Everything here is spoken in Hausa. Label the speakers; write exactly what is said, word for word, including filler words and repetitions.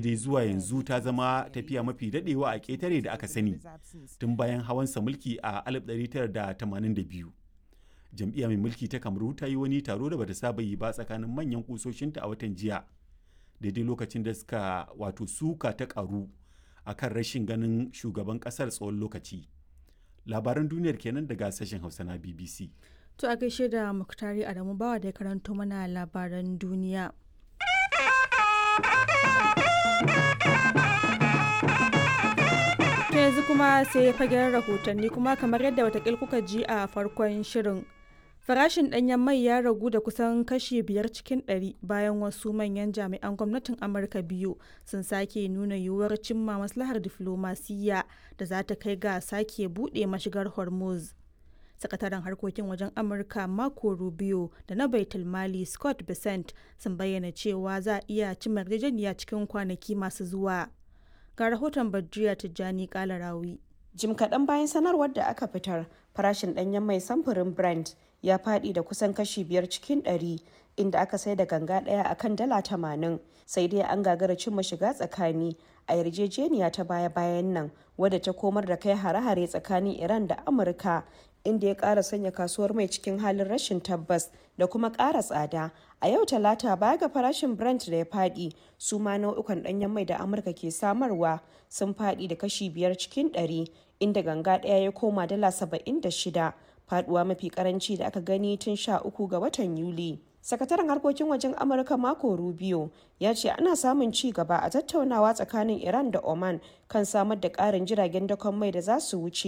Speaker 1: Dai zuwa yanzu ta zama tafiya mafi daɗewa a ƙetare da aka sani tun bayan hawansa mulki a alif ɗari tara da tamanin da biyu. Jam'iyya mai mulki ta Kamaru ta yi wani taro da bata saba yi ba tsakanin manyan kusoshinta a watan jiya, daidai lokacin da suka wato suka ta karu akan rashin ganin shugaban kasar tsawon lokaci. Labaran duniyar kenan daga sashen Hausa na B B C.
Speaker 2: To, a gaishe da Muktari Adamu Bawa da ya karanto mana labaran duniya. To, yanzu kuma sai fagen rahotanni. Kuma kamar yadda watakil kuka ji a farkon shirin, farashin ɗanyen mai ya ragu da kusan kashi biyar cikin ɗari bayan wasu manyan jami'an gwamnatin Amurka biyu sun sake nuna yiwuwar cimma maslahar diflomasiyya da za ta kai ga sake buɗe mashigar Hormuz. Sakataren harkokin wajen Amurka Marco Rubio da na Baitul Mali Scott Bessent sun bayyana cewa za a iya cimma yarjejeniya cikin kwanaki masu zuwa. Ga rahoton Badriya Tijjani Kalarawi.
Speaker 3: Jim kaɗan bayan sanarwar da aka fitar, farashin ɗanyen mai samfurin Brent ya faɗi da kusan kashi biyar cikin ɗari, inda aka sai da ganga ɗaya a kan dala tamanin. Sai dai an gagara cimma shiga tsakani a yarjejeniya ta baya-bayan nan, wadda ta komar da kai hare-hare tsakanin Iran da Amurka, inda ya ƙara sanya kasuwar mai cikin halin rashin tabbas da kuma ƙara tsada. A yau Talata, baya ga farashin Brent da ya faɗi, su ma nau'ukan ɗanyen mai da Amurka ke samarwa sun faɗi da kashi biyar cikin ɗari, inda ganga ɗaya ya koma dala saba'in da shida, faduwa mafi karanci da aka gani tun sha uku ga watan Yuli. Sakataren harkokin wajen Amurka Marco Rubio ya ce ana samun ci gaba a tattaunawa tsakanin Iran da Oman kan samar da ƙarin jiragen dakon mai da za su wuce.